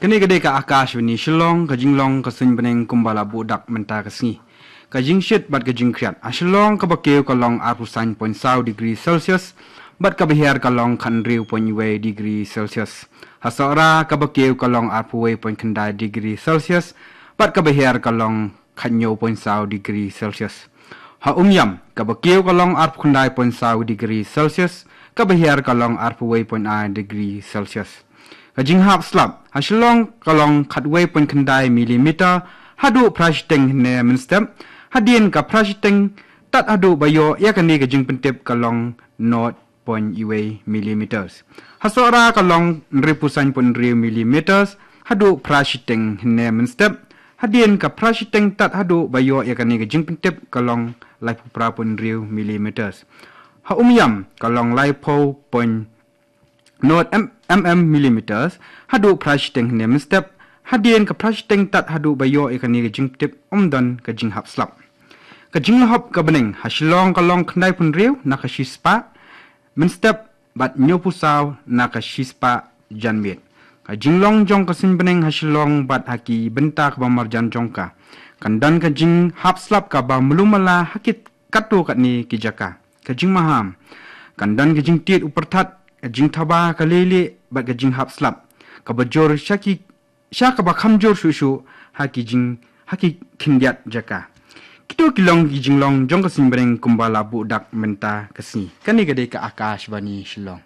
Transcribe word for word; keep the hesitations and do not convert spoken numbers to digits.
Kane ka dei ka Akashvani Shillong, ka jinglong ka suiñ bneng kumba la buh dak mynta ka sngi. Ka jingshit bad ka jingkhriat. Ha Shillong kaba kiew ka long arphew san point saw degree Celsius bad kaba hiar ka long khathynriew point wei degree Celsius. Ha Sohra kaba kiew ka long arphew wei point khyndai degree Celsius bad kaba hiar ka long khathynñiew point saw degree Celsius. Ha Umiam kaba kiew ka long arphew khyndai point saw degree Celsius, kaba hiar ka long arphew wei point ar degree Celsius. Ka jinghap slap ha Shillong ka long khatwei point khyndai millimeter, haduh phra shiteng hynne mynstep, hadien ka phra shiteng tad haduh ba ïoh ïa kane ka jingpyntip ka long nought point wei millimeters. Ha Sohra ka long hynriewphew san point hynriew millimeters, haduh phra shiteng hynne mynstep, hadien ka phra shiteng tad haduh ba ïoh ïa kane ka jingpyntip ka long laiphew phra point hynriew millimeters. Ha Umiam ka long laiphew point nought mm millimeters, haduh phra shiteng hynne mynstep, hadien ka phra shiteng tad haduh ba ïoh ïa kane ka jingpyntip ym don ka jinghap slap. Ka jinglahop ka bneng ha Shillong ka long khyndaiphew hynriew na ka shispah mynstep bad hynñiewphew saw na ka shispah janmiet. Ka jinglong jong ka suiñ bneng ha Shillong bad ha ki bynta kaba marjan jong ka, kan don ka jinghap slap kaba mlummala ha ki katto katne ki jaka. Ka jingmaham, kan don ka jingtied u pyrthat, ka jingthaba ka leilieh bad ka jinghap slap kaba jur sha ki sha kaba kham jur shuh shuh ha ki jing ha ki khyndiat jaka. Kito ki long ki jinglong jong ka suiñ bneng kumba la buh dak mynta ka sngi. Kane ka dei ka Akashvani Shillong.